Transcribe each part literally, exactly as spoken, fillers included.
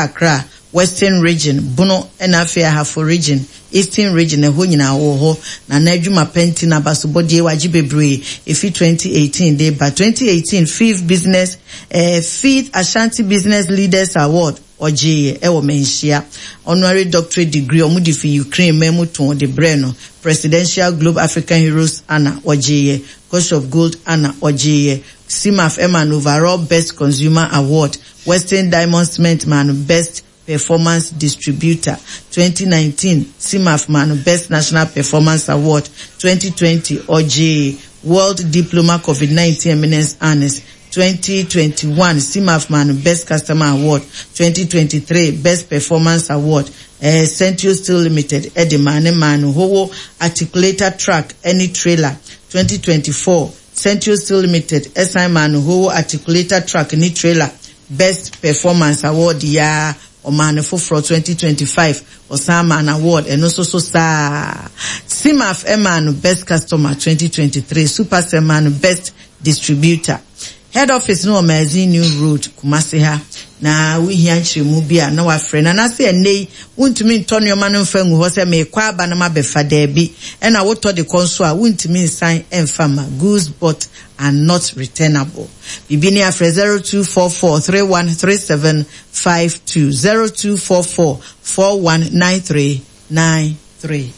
Accra, Western Region, Bono ɛna afei Ahafo Region, Eastern Region, ɛhɔ nyinaa wɔ hɔ. Na n'adwuma pɛnti na abasobɔdeɛ wagye bebree efi twenty eighteen de ba twenty eighteen fifth business eh, fifth Ashanti Business Leaders Award ɔgyeeɛ ɛwɔ Manhyia. Honorary doctorate degree ɔmo de fi Ukraine mɛmu tɔn de brɛ no. Presidential Globe African Heroes Honour ɔgyeeɛ. Coach of Gold Honour ɔgyeeɛ. Cimaf ɛma no Overall Best Consumer Award. Western Diamond Cement ma no Best Performance Distributor. twenty nineteen Cimaf ma no Best National Performance Award. twenty twenty ɔgyee World Diploma COVID nineteen Eminence Honours. twenty twenty-one Cimaf ma no Best Customer Award. twenty twenty-three Best Performance Award. eh, Central Steel Limited ɛde maa ne maa no Howo articulator truck ɛne trailer. twenty twenty-four Central Steel Limited ɛsan maa no Howo articulator truck ne trailer. Best Performance Award yaa ɔmaa no foforɔ. twenty twenty-five ɔsan maa no award ɛno nso so saa. Cimaf ɛmaa no Best Customer twenty twenty-three. Supercell maa no Best Distributor. Head office no wɔ Magazine New Road, Kumasi ha, na wohia nkyerɛmu bi a na wafrɛ na n'ase. Ɛnɛ yi wontumi ntɔ nneɛma no mfa ngu hɔ sɛ meekɔ aba no mabɛfa, daabi. Ɛna wotɔ de kɔ nso a, wontumi nsan mfa ma. Goods bought are not returnable. Biribi ne afrɛ zero two four four three one three seven five two, zero two four four four one nine three nine three.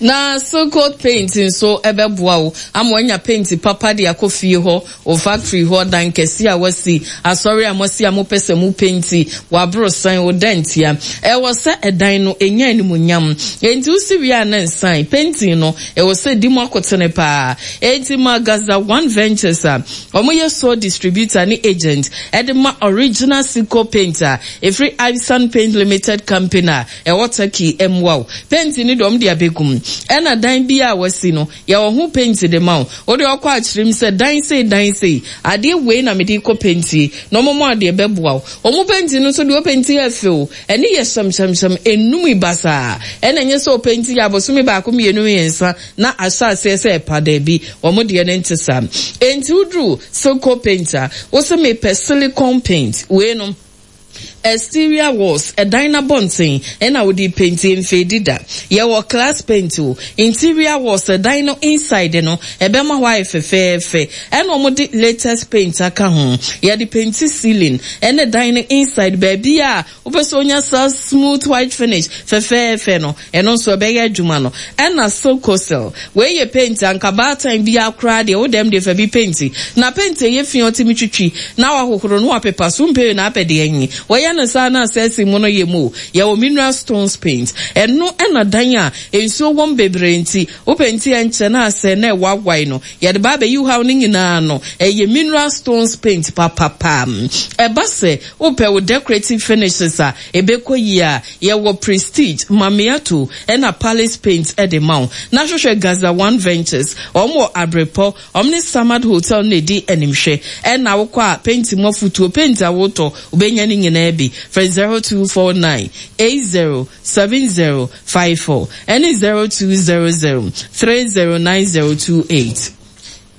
Na Silcoat Paint nso ɛbɛboa wo ama wanya paint papa de akɔ fie hɔ, o factory hɔ, dan kɛse a wasi, asɔre a moasi a mopɛ sɛ mo paint, waboro san wo dantia. Ɛwɔ sɛ ɛdan no ɛnya animuonyam, enti wosi wie a ne nsan painting no ɛwɔ sɛ di mu akotene paa. Enti ma Gaza One Ventures a wɔyɛ sole distributor ne agent ɛde ma original Silcoat Paint a ɛfiri Isan Paint Limited Company a ɛwɔ Turkey mmoa wo. Paint no deɛ, ɔmo de abɛgum, ɛna dan bi a wasi no, yɛwɔ ho paint de ma wo. Wode ɔkɔ akyerɛm sɛ dan sei, dan sei, adeɛ wei na mede kɔ paint na ɔmo mo adeɛ bɛboa wo. Ɔmo paint no nso deɛ, ɔpaint yɛ fɛw, ɛne yɛ hyɛmhyɛmhyɛm enum basaa, ɛna nyɛ sɛ ɔpaint yɛ abosome baako, mmienu, mmiɛnsa na ahyɛ aseɛ sɛ ɛpa. Daabi, ɔmo deɛ no nte saa. Enti woduru Silco Paint a, wosɛ mepɛ silicone paint wei no, exterior walls, ɛdan n'abɔnten ɛna wode paint, mfeedi da. Yɛwɔ class paint o, interior walls, ɛdan no inside no, ɛbɛma hɔ ayɛ fɛfɛɛfɛ. Ɛna wɔn de latest paint aka ho, yɛde paint ceiling ɛne dan no inside, baabi a wopɛ sɛ onya saa smooth white finish fɛfɛɛfɛ no, ɛno nso ɛbɛyɛ adwuma no. Ɛna Silcosel wei yɛ paint anka baatan bi akora deɛ wodɛm de fa bi paint na paint ɛyɛ fi, ɔtumi twitwi na wahohoro no wapepa so mpɛ na apɛ deɛ nyi wɔyɛ no saa na asɛsi mu no yɛ mu. Yɛwɔ mineral stones paint, ɛno ɛna dan a nsuo wɔm bebree nti wopɛ nti ɛnkyɛ na asɛ na ɛwawae no, yɛde ba abɛyi haw no nyinaa no. Ɛyɛ mineral stones paint papapa. Ɛba sɛ wopɛ wo decorative finishes a ɛbɛkɔ yie a, yɛwɔ Prestige, Mamiato ɛna Palace Paint ɛde ma wo. Na hwehwɛ Gaza One Ventures, wɔn wɔ Abrepɔ, wɔn ne Samad Hotel na edi animhwɛ. Ɛna wokɔ a, paint mu afutuo, paint a wotɔ, wobɛnya ne nyinaa bi. Frɛ zero two four nine eight zero seven zero five four ɛne zero two zero zero three zero nine zero two eight.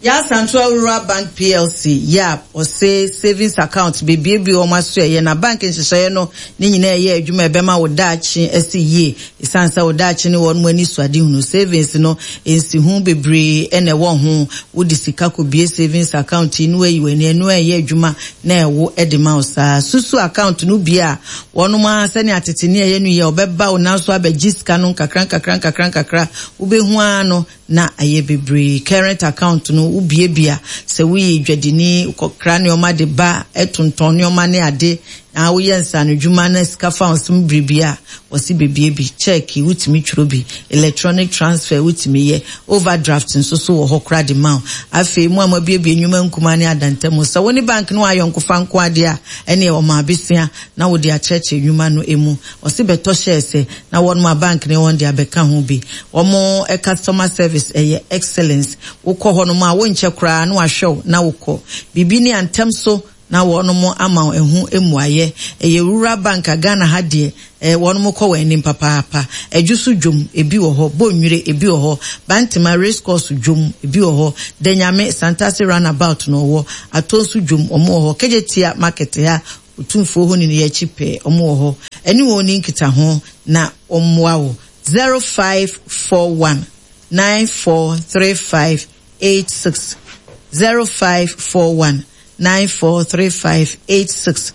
Yaa Asantewaa Rural Bank P L C, YAB, ɔse savings account bebiebie wɔn aso. Ɛyɛ na bank nhyehyɛeɛ no ne nyinaa ɛyɛ adwuma ɛbɛma wo daakye ɛsi yie, ɛsiane sɛ wo daakye ne wɔn mu ani so ade hunu. Savings no nsi ho bebree ɛna ɛwɔ ho. Wode sika kɔbie savings account yi na wayi w'ani, ɛno ɛyɛ adwuma na ɛwo ɛde ma wo saa susu account no bi a wɔnom a sɛnea tete ne ɛyɛ no yɛ, ɔbɛba wo nanso abɛgye sika no nkakra nkakra nkakra nkakra, wobɛhu ara no na ayɛ bebree. Current account no wobiebia sɛ woyɛ dwadini, kɔkra nneɛma de ba, ɛtontɔn nneɛma ne ade, na woyɛ nsanodwuma na sika fa wo biribi a wɔsi bebie bi. Check wotumi twerɛ bi, electronic transfer wotumi yɛ, overdraft nso so wɔ hɔ kora de ma wo. Afei mu a moabiebie nnwuma nkuma ne adantamu sɛ wo ne bank no ayɔnkofa nko adeɛ a, ɛne ɛwɔ ma abesia na wode akyerɛkyerɛ nnwuma no emu. Ɔsi bɛtɔ shares na wɔn a bank ne wɔn de abɛka ho bi. Wɔn customer service ɛyɛ excellence. Wokɔ hɔ nom a, wonkyɛ koraa na wahwɛ wo na wokɔ biribi ne antɛm so na wɔn ama ɛho mmuayɛ. Ɛyɛ Rural Bank a Ghana ha deɛ ɛɛ wɔn kɔ wɔn anim papaapa. Ɛdwo so dwom ebi wɔ hɔ, Bonwire ebi wɔ hɔ, Bantama Race Course dwom ebi wɔ hɔ, Danyame Santase Roundabout na ɔwɔ, Atonso dwom wɔn wɔ hɔ, Kejetia Market ha. Otumfoɔ hɔ ne no yɛ akyi pɛɛ, ɔmo wɔ hɔ. Ɛne wɔn ni nkitaho na ɔmmoa wo. zero five four one nine four three five eight six zero five four one nine four three five eight six.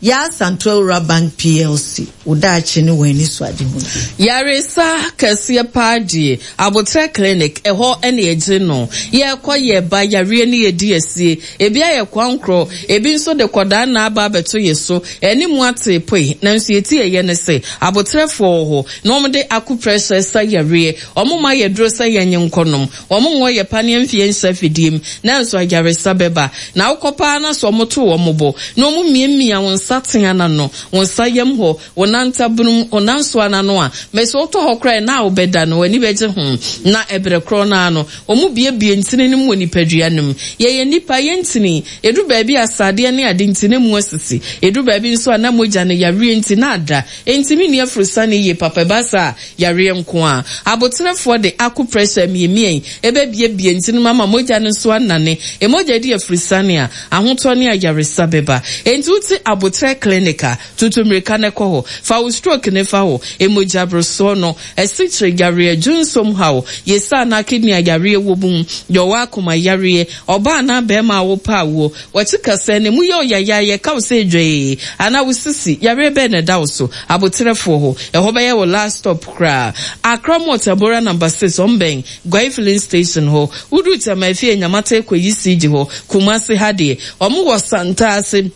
Yaa Asantewaa Bank P L C, wo daakye ne wɔn ani so ade ho. Yaresa kɛseɛ paa deɛ, Abotire Clinic ɛhɔ ɛna yɛgye no. Yɛkɔ yɛba yareɛ ne yɛdi asie. Ebi ayɛ kwankorɔ, ebi nso de kɔdaa na aba abɛto yɛ so. Ɛne mu ate poe, nanso yɛti yɛyɛ ne sɛ abotrɛfoɔ wɔ hɔ na wɔn de acupressure sa yareɛ. Wɔn ma yɛ duro sɛ yɛnye nkɔnom. Wɔn nwɔ yɛ paneɛ mfie nhyɛ afidie mu, nanso ayaresa bɛba. Na wokɔ paa na so wɔn to wɔn bo na wɔn mmiamia wɔn nsa tea n'ano, wɔn nsa yam hɔ, wɔn nantabunum, wɔn nansoa n'ano a mɛsɛ wotɔ hɔ koraa na wobɛda no w'ani bɛgye ho. Na ɛbrɛ korɔ n'ano wɔn biebie ntini no mu wɔ nipadua no mu. Yɛyɛ nipa, yɛn ntini edu baabi a asadeɛ ne ade nti ne mu asisi, edu baabi nso a na mogya no yareɛ nti na ada ntumi ni afurusane yie papa. Ɛba saa yareɛ nko a, abotrɛfoɔ de acupressure miemien ɛbɛbiebie ntini mu ama mogya no nso anane. Emogya di afurusane a, ahotɔ ne ayaresa bɛba. Enti wote Abotrɛ Clinic a, tutu mmirika ne kɔ hɔ. Fa wo stroke ne fa hɔ, emogya borosoɔ no, ɛsikyire yareɛ, dwonsom haw, yɛsa anaa kidney ayareɛ wɔ mu, deɛ ɔwɔ akoma yareɛ, ɔbaa anaa bɛrima a wopɛ awoɔ, wɔkyi kasa ne mu yɛ ɔyayayɛ ka wo sɛ dwee anaa wo sisi yareɛ bɛɛ na ɛda wo so, abotrɛfoɔ hɔ, ɛhɔ bɛyɛ wɔ last stop koraa. Accra Mall, Tabora Number Six, ɔmbɛn Guai Filling Station hɔ. Wodu Tama efie Nyamate kɔ yi siigyi hɔ. Kumasi ha deɛ, ɔmo wɔ Santaase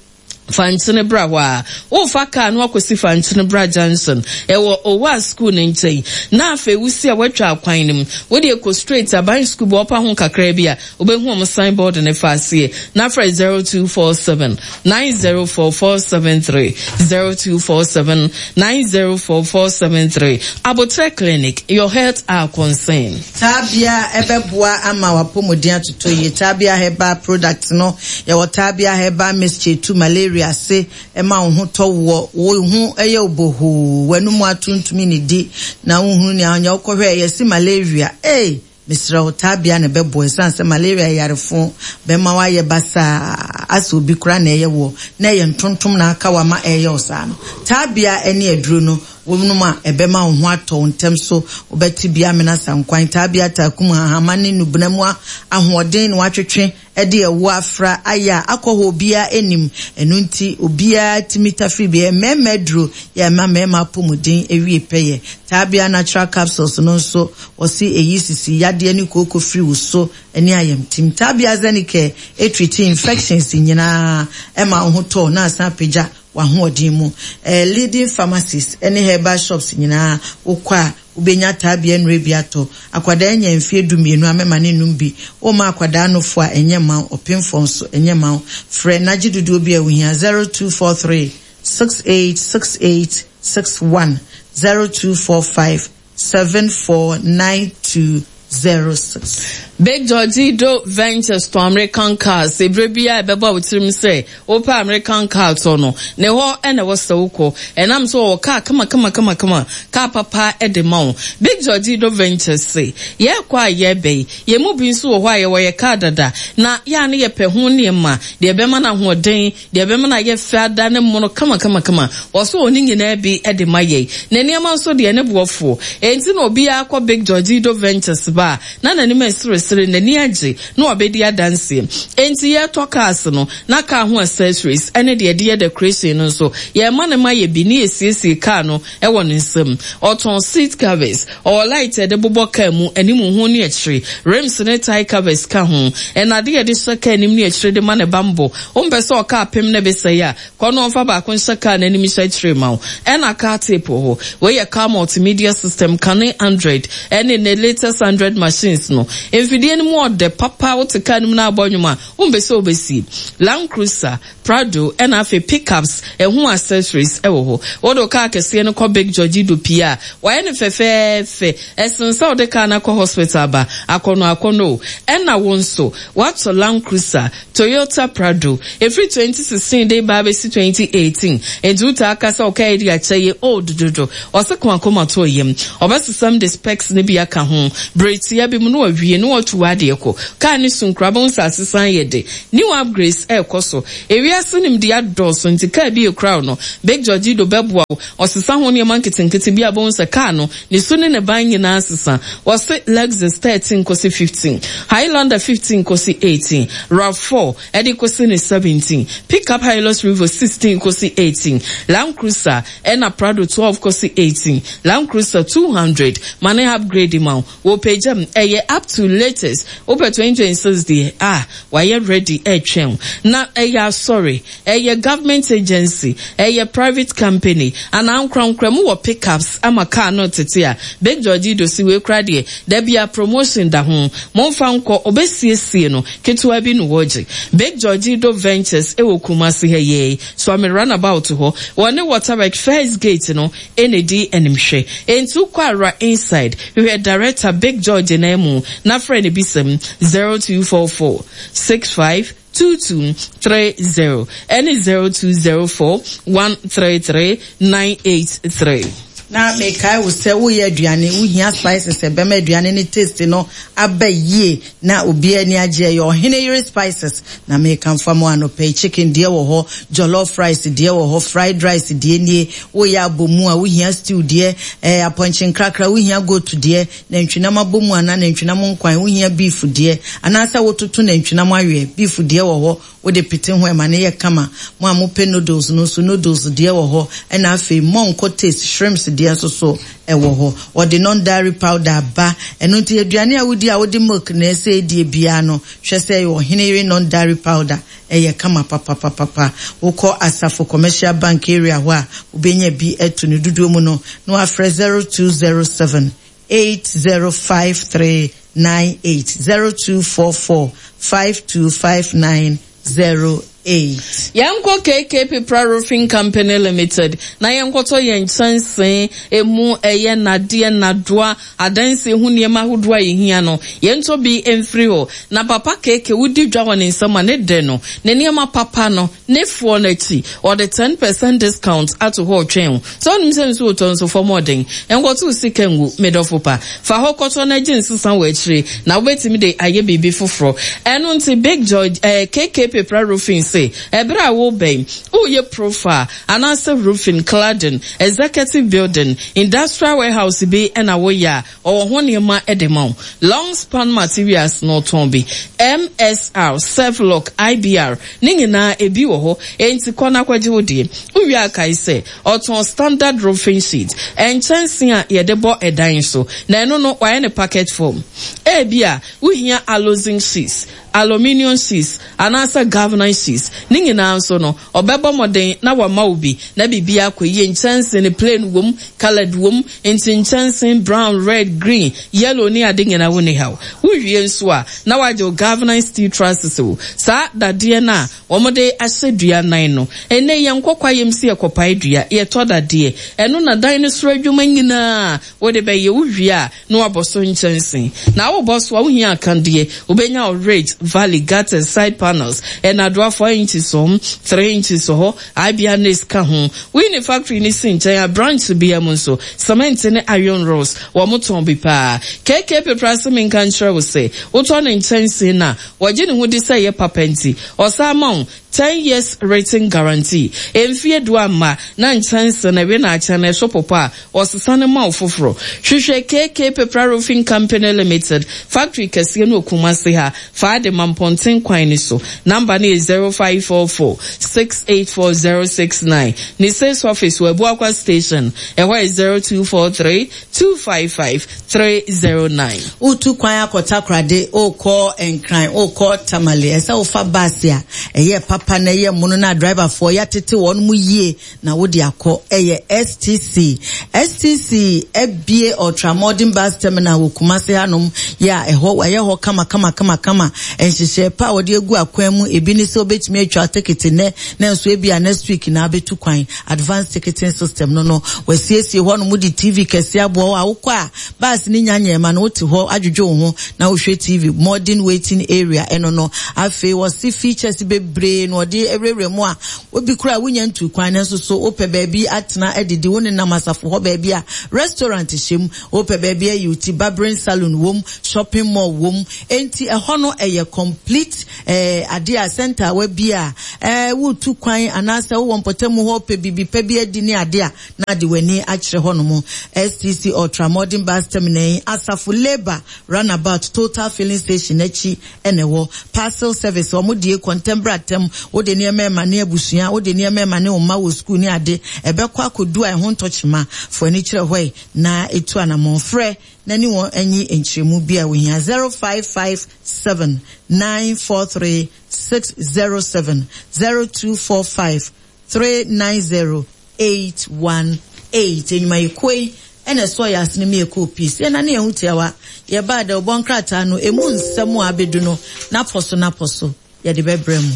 Fankyene bra hɔ a wofa kaa no akɔsi Fankyene Bra Junction, ɛwɔ Owa School no nkyɛn. Na afei wosi a woatwa akwan no mu, wode kɔ straight aban school bɔ ɔpa ho kakra bi a, wobɛhu ɔmo signboard ne fa aseɛ. Na frɛ zero two four seven nine zero four four seven three, zero two four seven nine zero four four seven three. Abotrɛ Clinic, your health our concern. Taabea ɛbɛboa ama wapɔmuden atotɔ yie. Taabea Herbal Product no, yɛwɔ Taabea Herbal Mixture tu malaria ase, ɛma wo ho tɔ woɔ, wo ho ɛyɛ obohoo, w'anum atontumi ne di na wohunu nea ɔnyɛ wokɔhwɛ yɛsi malaria. Ee, mesrɛ wo, taabea na ɛbɛboa, ɛsiane sɛ malaria yɛ yarefo bɛma woayɛ basaa asɛ obi koraa na ɛyɛ woɔ na ɛyɛ ntontom na aka wama ɛyɛ wo saa no. Taabea ne aduro no wɔnom a, ɛbɛma wo ho atɔ wo ntɛm so, wobɛte bi amena sankwan. Taabea taakum hahama ne nubena mu ahoɔden na watwetwe ɛde ɛwo afra ayɛ a akɔ hɔ obiara anim. Ɛno nti obiara tumi tafiri bi. Mmarima aduro yɛ ɛma mmarima apɔmuden ewie pɛyɛ. Taabea Natural Capsules no nso, wɔsi eyi sisi yadeɛ ne kooko firi wo so ne ayamtim. Taabea Zenicare etreat infections nyinaa, ɛma wo ho tɔ na asan apagya w'ahoɔden mu. ɛɛ leading pharmacies ɛne herbal shops nyinaa, wokɔ a wobɛnya taabea nnuro bi atɔ. Akwadaa nya mfie du mmienu a, mɛma ne num bi. Woma akwadaa nofo a, ɛnyɛ ma wo. Ɔpemfoɔ nso, ɛnyɛ ma wo. Frɛ n'agye dodoɔ bi a wohia: zero two four three six eight six eight six one, zero two four five seven four nine two zero six. Big Georgido Ventures to American cars. Ebere bi a ɛbɛbɔ wo tirim sɛ wopɛ American car tɔ no, ne hɔ ɛna ɛwɔ sɛ wokɔ. Ɛnam sɛ wɔwɔ car kama kama kama kama, car papa ɛde ma wo. Big Georgido Ventures se yɛrekɔ a yɛrebɛ yi, yɛn mu bi nso wɔ hɔ a yɛwɔ yɛ car dada na yɛa ne yɛpɛ ho nneɛma deɛ ɛbɛma no ahoɔden, deɛ ɛbɛma no ayɛ fɛ ada ne mmono kama kama kama. Wɔso wɔn ne nyinaa bi ɛde ma yɛn na nneɛma nso deɛ ne boɔfoɔ. Enti na obiara kɔ Big Georgido Ventures ba a, na n'anim ɛseresere, n'ani agye na wabɛdi adanseɛ. Enti yɛretɔ cars no na car ho accessories ɛne deɛ ɛde yɛ decoration no nso, yɛma ne ma yɛ bi ne yɛsiesie car no ɛwɔ ne nsam. Ɔtɔn seat covers, ɔwɔ light ɛde bobɔ car mu anim ho ne akyire, rims ne tyre covers ka ho, ɛna ade yɛde hyɛ car anim ne akyire de ma ne bambɔ. Wompɛ sɛ ɔka apem ne bɛsɛe a, kɔ no ɔmfa baako nhyɛ car n'anim hyɛ akyire ma wo. Ɛna car tape wɔ hɔ. Wei yɛ car multimedia system, kane Android ɛne ne latest Android machines no. Mfidie no mu ɔdɛ papa. Wote car no mu na abɔ nnwom a, wompɛ sɛ wobɛsie. Land Cruiser, Prado ɛna afei pickups ɛho accessories ɛwɔ hɔ. Wode car kɛseɛ no kɔ Big George do pii a, wayɛ no fɛfɛɛfɛ. Ɛsen sɛ wode car no akɔ hospital aba akɔnɔ akɔnɔ o. Ɛna wo nso watɔ Land Cruiser, Toyota Prado ɛfiri twenty sixteen de ba abɛsi twenty eighteen, nti wotaa ka sɛ ɔka yi de akyɛ yɛ old dodo. Ɔse ko akoma to yam, ɔbɛsesam de specs no bi aka ho bere tia bi mu na wawie na watu w'adeɛ kɔ. Kaa no su nkoraa wobɛhu sɛ asesan yɛ de. New upgrades ɛrekɔ so. Ewiase nimdeɛ adɔɔso nti kaa bi ekura wo no, Big Georgido bɛboa wo. Ɔsesa ho nneɛma nketenkete bi a wobɛhu sɛ kaa no, ne su ne ne ban nyinaa sesa. Wɔse Lexus thirteen kosi fifteen, Highlander fifteen kosi eighteen, RAV four ɛde kosi ne seventeen, Pickup Hilux Revo sixteen kosi eighteen, Land Cruiser ɛna Prado twelve kosi eighteen, Land Cruiser two hundred ma ne upgrade ma wo. Wɔpagya mu, ɛyɛ up to latest. Wopɛ twenty twenty six deɛ a, wayɛ ready ɛretwɛn wo. Na ɛyɛ asɔre, ɛyɛ government agency, ɛyɛ private company, anaa ankorankora mu wɔ pickups ama car no tete a, Big George Dosi wei koraa deɛ, da bia promotion da ho. Momfa nkɔ, obesiesie no, ketewa bi no wɔgye. Big George Do Ventures ɛwɔ Kumasi ha yei, Suame runabout hɔ, wɔne Waterwork first gate no ɛna di animhwɛ. Enti wokɔ ara inside, hwehwɛ director Big George na mu, na frɛ no bisɛm zero two four four six five two two three zero ɛne zero two zero four one three three nine eight three. Na mekae wo sɛ woyɛ aduane, wohia spices ɛbɛma aduane ne taste no aba yie na obiara ani agye. Ɛyɛ Ɔhene Yere Spices na mekamfa mu anɔpɛ. Chicken deɛ wɔ hɔ, jollof rice deɛ wɔ hɔ, fried rice deɛ nie, woyɛ abomu a wohia stew deɛ, ɛɛ apɔnkye nkrakra wohia goat deɛ, nantwinam abomu anaa nantwinam nkwan wohia beef deɛ, anaasɛ wototo nantwinam awie, beef deɛ wɔ hɔ, wode pete ho ɛma ne yɛ kama. Mo a mopɛ noodles no nso, noodles deɛ wɔ hɔ, ɛna afei mɔnkɔ taste shrimps deɛ nso so ɛwɔ hɔ. Wɔde non dairy powder aba, ɛno nti aduane a wodi a wode milk na ɛsɛ edie biara no, hwɛ sɛ ɛyɛ Ɔhene Yere non dairy powder, ɛyɛ kama papapapapa. Wokɔ Asafo Commercial Bank area hɔ a, wobɛnya bi ɛto ne dodoɔ mu no na wafrɛ zero two zero seven eight zero five three nine eight, zero two four four five two five nine zero eight. Yɛnkɔ K K Pepra Roofing Company Limited na yɛnkɔtɔ yɛn nkyɛnsee emu ɛyɛ nadeɛ nadoa adansi ho nneɛma ahodoɔ a yɛhia no, yɛntɔ bi mfiri hɔ. Na papa K K wodi dwa wɔ ne nsam a ne dɛ no ne nneɛma papa no ne foɔ n'akyi, ɔde ten percent discount ato hɔ ɔtwɛn o. Sɛ ɔnim sɛ nsuo tɔ nso fam ɔden, nkɔto sika ngu medɔfo pa, fa hɔ kɔtɔ na gye nsesa wɔ akyire na wobɛtumi de ayɛ biribi foforɔ. Ɛno nti Big George ɛɛ K K Pepra Roofing se ɛberɛ a wobɛn woyɛ profile anaasɛ roofing, cladding, executive building, industrial warehouse bi ɛna woyɛ a, ɔwɔ ho nneɛma de ma wo. Long span materials na ɔtɔn bi, M S R, Selflock, I B R ne nyinaa ebi wɔ hɔ. Enti kɔ na akɔgye wo deɛ. Wowie akae sɛ ɔtɔn standard roofing sheet, nkyɛnsee a yɛde bɔ ɛdan so, na ɛno no wayɛ ne packet form. Ebi a wohia aluzinc sheets, aluminium sheets anaasɛ galvanized sheets ne nyinaa nso no, ɔbɛbɔ mmɔden na wama wo bi na biribi akɔ yie. Nkyɛnsee no plain wom, coloured wom, nti nkyɛnsee brown, red, green, yellow ne ade nyinaa wo ne haw. Wowie nso a na wagye wo galvanized steel trusses o, saa dadeɛ no a wɔde ahyɛ dua nan no. Ɛnɛ yɛn nkɔkɔ ayɛm si yɛkɔpae dua, yɛtɔ dadeɛ ɛno na dan no soro adwuma nyinaa wode bɛyɛ. Wowie a na wabɔ so nkyɛnsee na wobɔ so a wohia akadeɛ, wobɛnya wo ridge, valley, gutters, side panels, ɛnadoa four inches hɔ, three inches hɔ, ibia ne ka ho. Woyi ne factory ne si nkyɛn a branch bia mu nso cement ne iron rods wɔn tɔn bi paa. K K Pepra se menka nkyerɛ wo sɛ wotɔ ne nkyɛnsee na wɔgye ne ho di sɛ ɛyɛ papa nti ɔsan ma wo ten years written guarantee. Mfie du ama na nkyɛnse na ewe na akyɛn na ɛso popo a, ɔsesa ne ma wo foforɔ. Hwehwɛ K K Pepra Roofing Company Limited factory kɛseɛ no Okumase ha, fa de ma mpɔnten kwan ni so. Number no yɛ zero five four four six eight four zero six nine. Ne sales office wɔ Abuakwa Station, ɛhɔ yɛ zero two four three two five five three zero nine. Wotu kwan akɔ Takorade, wokɔ Nkran, wokɔ Tamale, ɛsɛ wofa bus a ɛyɛ papa na ɛyɛ mono na driverfoɔ yɛatete wɔn mu yie na wode akɔ. Ɛyɛ S T C. S T C abie ultramodern bus terminal wɔ Kumase hanom yɛ a ɛhɔ wɔayɛ hɔ kama kama kama kama. Nhyehyɛ pa a wɔde agu akwan mu ebi ne sɛ wobɛtumi atwa ticket nnɛ na nso ebi a next week na abɛtu kwan. Advanced ticketing system no no wɔasiesie hɔ nom de T V kɛse aboa hɔ a wokɔ a bus ne nya nyɛma no wote hɔ adwodwo wo ho na wohwɛ T V. Modern waiting area ɛno no. Afei wɔsi features bebree na na ɔde awurawura mu a obi kura wonya ntu kwan no nso so wopɛ baabi atena adidi wo nenam asafo hɔ baabi a restaurant hyɛ mu, wopɛ baabi ayi wo ti, barbering salon wom, shopping mall wom. Enti ɛhɔ no ɛyɛ complete eh, ade a center wa bi a eh, wotu kwan anaasɛ wowɔ mpɔtamu hɔ pɛ biribi pɛ bi adi ne ade a na de w'ani akyerɛ hɔ nom. S T C Ultra Modern Bus Terminal yi, Asafo Labour Runabout Total Filling Station akyi ɛna ɛwɔ. Parcel service wɔn die kɔntɛmbra tɛm, wode nneɛma ɛma ne abusua, wode nneɛma ɛma ne mma wɔ sukuu ne ade, ɛbɛkɔ akɔdu a ɛho ntɔkyema fo ani kyerɛ hɔ yi na etu anamɔn frɛ na ne wɔn anyi nkyerɛmu bi a wohia: zero five five seven nine four three six zero seven, zero two four five three nine zero eight one eight. Enyumayɛkuo yi ɛna ɛsɔ yɛ asene mi ɛkɔɔ peace yɛn nane ɛho tiawa yɛbaa dɛ ɔbɔ nkrataa no emu nsɛm a abedu no n'apɔ so n'apɔ so yɛde bɛbrɛ mu.